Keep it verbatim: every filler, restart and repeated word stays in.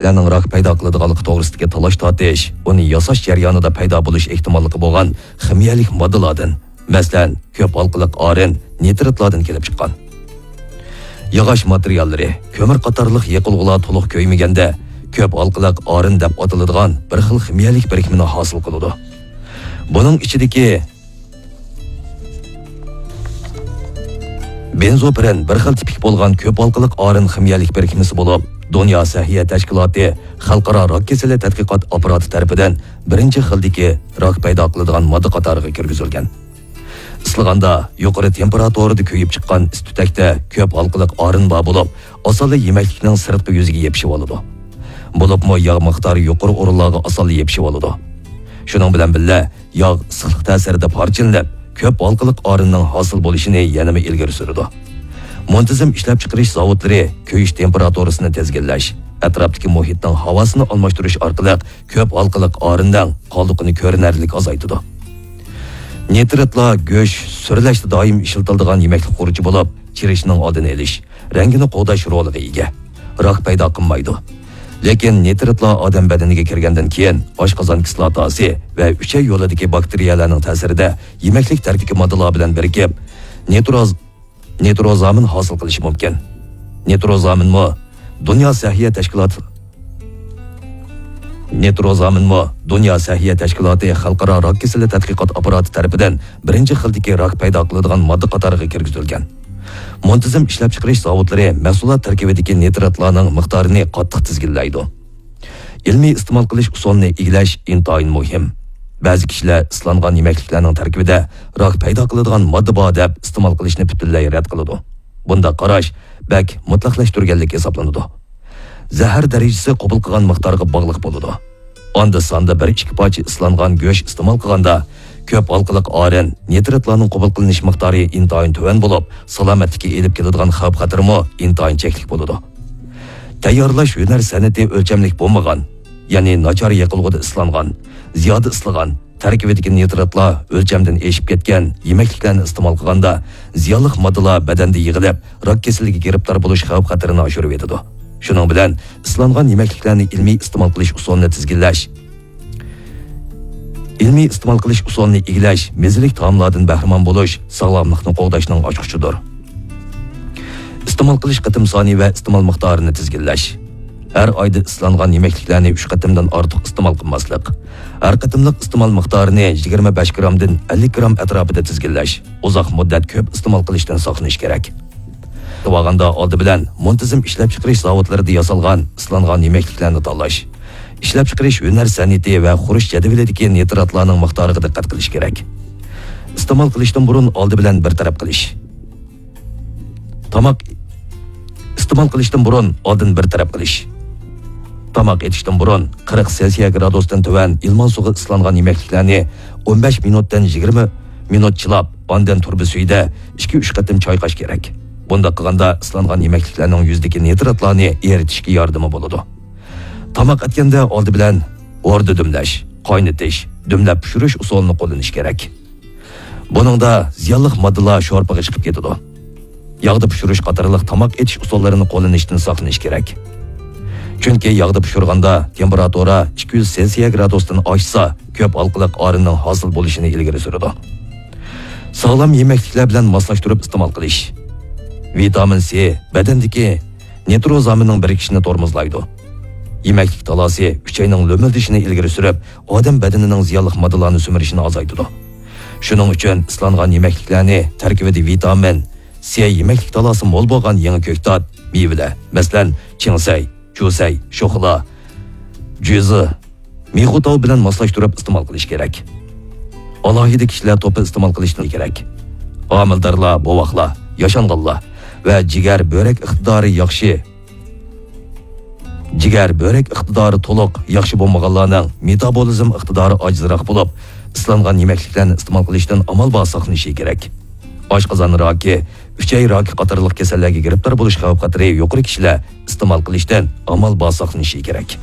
يېمەكلىكلەرنىڭ راك پەيدا قىلىدىغانلىقى توغرىسىدىكى تالاش-تارتىش ئۇنى ياساش جەريانىدا پەيدا بولۇش ئېھتىماللىقى بولغان خىمىيەلىك ماددىلاردىن، مەسىلەن، كۆپ ھالقىلىق ئارىن، نىتراتلاردىن كېلىپ چىققان. ياغاچ ماتېرىياللىرى، كۆمۈر قاتارلىق يېقىلغۇلار تولۇق كۆيمىگەندە، كۆپ ھالقىلىق ئارىن دەپ ئاتىلىدىغان بىر خىل خىمىيەلىك بىرىكمىنى ھاسىل قىلىدۇ. بۇنىڭ ئىچىدىكى بېنزوپىرېن بىر خىل تىپىك بولغان كۆپ ھالقىلىق ئارىن خىمىيەلىك بىرىكمىسى بولۇپ، دۇنيا سەھىيە تەشكىلاتى خەلقئارا راك كېسىلى تەتقىقات ئاپپاراتى تەرىپىدىن بىرىنچى خىلدىكى راك پەيدا قىلىدىغان ماددا قاتارىغا كىرگۈزۈلگەن. ئىسسىغاندا يۇقىرى تېمپېراتۇرىدا كۆيۈپ چىققان ئىس-تۈتەكتە كۆپ ھالقىلىق ئارىن بار بولۇپ، ئاسانلا يېمەكلىكنىڭ سىرتقى يۈزىگە يېپىشىۋالىدۇ. بولۇپمۇ ياغ مىقدارى يۇقىرى ئورۇنلارغا ئاسانلا يېپىشىۋالىدۇ. شۇنىڭ بىلەن بىللە، ياغ ئىسسىقلىق تەسىرىدە پارچىلىنىپ، كۆپ ھالقىلىق ئارىننىڭ ھاسىل بولۇشىنى يەنىمۇ ئىلگىرى سۈرىدۇ. مۇنتىزىم ئىشلەپچىقىرىش زاۋۇتلىرى كۆيۈش تېمپېراتۇرىسىنى تىزگىنلەش، ئەتراپتىكى مۇھىتنىڭ ھاۋاسىنى ئالماشتۇرۇش ئارقىلىق كۆپ ھالقىلىق ئارىننىڭ قالدۇقىنى كۆرۈنەرلىك ئازايتىدۇ. نىتراتلار گۆش، سۈرىلەشتە دائىم ئىشلىتىلىدىغان يېمەكلىك خۇرۇچى بولۇپ، چىرىشنىڭ ئالدىنى ئېلىش، رەڭگىنى قوغداش رولىغا ئىگە. راك پەيدا قىلمايدۇ. لېكىن نىتراتلار ئادەم بەدىنىگە كىرگەندىن كېيىن، ئاشقازان كىسلاتاسى ۋە ئۈچەي يولىدىكى باكتېرىيەلەرنىڭ تەسىرىدە يېمەكلىك تەركىبىدىكى ماددىلار بىلەن بىرىكىپ، نىتروز نىتروزامىن ھاسىل قىلىشى مۇمكىن. نىتروزامىنمۇ دۇنيا سەھىيە تەشكىلاتى، نىتروزامىنمۇ دۇنيا سەھىيە تەشكىلاتى خەلقئارا راك كېسىلى تەتقىقات ئاپپاراتى تەرىپىدىن بىرىنچى خىلدىكى راك پەيدا قىلىدىغان ماددا قاتارىغا كىرگۈزۈلگەن. مۇنتىزىم ئىشلەپچىقىرىش زاۋۇتلىرى مەھسۇلات تەركىبىدىكى نىتراتلارنىڭ مىقدارىنى قاتتىق تىزگىنلەيدۇ. ئىلمىي ئىستېمال قىلىش ئۇسۇلىنى ئىگىلەش ئىنتايىن مۇھىم. بەزى كىشىلەر ئىسلانغان يېمەكلىكلەرنىڭ تەركىبىدە راك پەيدا قىلىدىغان ماددا بار دەپ ئىستېمال قىلىشنى پۈتۈنلەي رەت قىلىدۇ. بۇنداق قاراش بەك مۇتلەقلەشتۈرگەنلىك ھېسابلىنىدۇ. زەھەر دەرىجىسى قوبۇل قىلغان مىقدارغا باغلىق بولىدۇ. ئاندا-ساندا بىر-ئىككى پارچە ئىسلانغان گۆش ئىستېمال قىلغاندا، كۆپ ھالقىلىق ئارىن، نىتراتلارنىڭ قوبۇل قىلىنىش مىقدارى ئىنتايىن تۆۋەن بولۇپ، سالامەتلىككە ئېلىپ كېلىدىغان خەۋپ-خەتىرىمۇ ئىنتايىن چەكلىك بولىدۇ. تەييارلاش ھۈنەر سەنئىتى ئۆلچەملىك بولمىغان، يەنى ناچار يېقىلغۇدا ئىسلانغان، زىيادە ئىسلىغان، تەركىبىدىكى نىتراتلار ئۆلچەمدىن ئېشىپ كەتكەن يېمەكلىكلەرنى ئىستېمال قىلغاندا، زىيانلىق ماددىلار بەدەندە يىغىلىپ، راك كېسىلىگە گىرىپتار بولۇش خەۋپ-خەتىرىنى ئاشۇرۇۋېتىدۇ. شۇنىڭ بىلەن ئىسلانغان يېمەكلىكلەرنى ئىلمىي ئىستېمال قىلىش ئۇسۇلىنى تىزگىنلەش، ئىلمىي ئىستېمال قىلىش ئۇسۇلىنى ئىگىلەش، مېزىلىك تائاملاردىن بەھرىمەن بولۇش ساغلاملىقنى قوغداشنىڭ ئاچقۇچىدۇر. ئىستېمال قىلىش قېتىم سانى ۋە ئىستېمال مىقدارىنى تىزگىنلەش. ھەر ئايدا ئىسلانغان يېمەكلىكلەرنى ئۈچ قېتىمدىن ئارتۇق ئىستېمال قىلماسلىق. ھەر قېتىملىق ئىستېمال مىقدارىنى يىگىرمە بەش گرامدىن ئەللىك گرام ئەتراپىدا تىزگىنلەش. ئۇزاق مۇددەت كۆپ ئىستېمال قىلىشتىن ساقلىنىش كېرەك. ئالغاندا ئالدى بىلەن مۇنتىزىم ئىشلەپچىقىرىش زاۋۇتلىرىدا ياسالغان ئىسلانغان يېمەكلىكلەرنى تاللاش. ئىشلەپچىقىرىش ھۈنەر سەنئىتى ۋە قۇرۇش جەدۋىلىدىكى نىتراتلارنىڭ مىقدارىغا دىققەت قىلىش كېرەك. ئىستېمال قىلىشتىن بۇرۇن ئالدى بىلەن بىر تەرەپ قىلىش. تاماق ئىستېمال قىلىشتىن بۇرۇن ئالدىن بىر تەرەپ قىلىش. تاماق ئېتىشتىن بۇرۇن قىرىق سېلسىيە گرادۇستىن تۆۋەن ئىلمان سۇغا ئىسلانغان يېمەكلىكلەرنى ئون بەش مىنۇتتىن يىگىرمە مىنۇت چىلاپ، ئاندىن تۇرۇبا سۈيىدە ئىككى-ئۈچ قېتىم چايقاش كېرەك. بۇنداق قىلغاندا ئىسلانغان يېمەكلىكلەرنىڭ يۈزىدىكى نىتراتلارنى ئېرىتىشكە ياردىمى بولىدۇ. تاماق ئەتكەندە ئالدى بىلەن ھوردا دۈملەش، قاينىتىش، دۈملەپ پىشۇرۇش ئۇسۇلىنى قوللىنىش كېرەك. بۇنىڭدا زىيانلىق ماددىلار شورپىغا چىقىپ كېتىدۇ. ياغدا پىشۇرۇش قاتارلىق تاماق ئېتىش ئۇسۇللىرىنى قوللىنىشتىن ساقلىنىش كېرەك. چۈنكى ياغدا پىشۇرغاندا تېمپېراتۇرا ئىككى يۈز سېلسىيە گرادۇستىن ئاشسا، كۆپ ھالقىلىق ئارىننىڭ ھاسىل بولۇشىنى ئىلگىرى سۈرىدۇ. ساغلام يېمەكلىكلەر بىلەن ماسلاشتۇرۇپ ئىستېمال قىلىش. ۋىتامىن سى بەدەندىكى نىتروزامىننىڭ بىرىكىشىنى تورمۇزلايدۇ. يېمەكلىك تالاسى ئۈچەينىڭ لۆمۈلدىشىنى ئىلگىرى سۈرۈپ، ئادەم بەدىنىنىڭ زىيانلىق ماددىلارنى سۈمۈرۈشىنى ئازايتىدۇ. شۇنىڭ ئۈچۈن ئىسلانغان يېمەكلىكلەرنى تەركىبىدە ۋىتامىن سى يېمەكلىك تالاسى مول بولغان يېڭى كۆكتات، مېۋىلەر، مەسىلەن، چىڭسەي، چۈسەي، شوخلا، جۈزى، مىخۇتاۋ بىلەن ماسلاشتۇرۇپ ئىستېمال قىلىش كېرەك. ئالاھىدە كىشىلەر توپى ئىستېمال قىلىشنى كېرەك. ھامىلىدارلار، بوۋاقلار، ياشانغانلار ۋە جىگەر، بۆرەك ئىقتىدارى ياخشى، جىگەر، بۆرەك ئىقتىدارى تولۇق ياخشى بولمىغانلارنىڭ مېتابولىزم ئىقتىدارى ئاجىزراق بولۇپ، ئىسلانغان يېمەكلىكلەرنى ئىستېمال قىلىشتىن ئامال بار ساقلىنىشى كېرەك. ئاشقازان راكى، ئۈچەي راكى قاتارلىق كېسەللەرگە گىرىپتار بولۇش خەۋپ-خەتىرى يۇقىرى كىشىلەر ئىستېمال قىلىشتىن ئامال بار ساقلىنىشى كېرەك.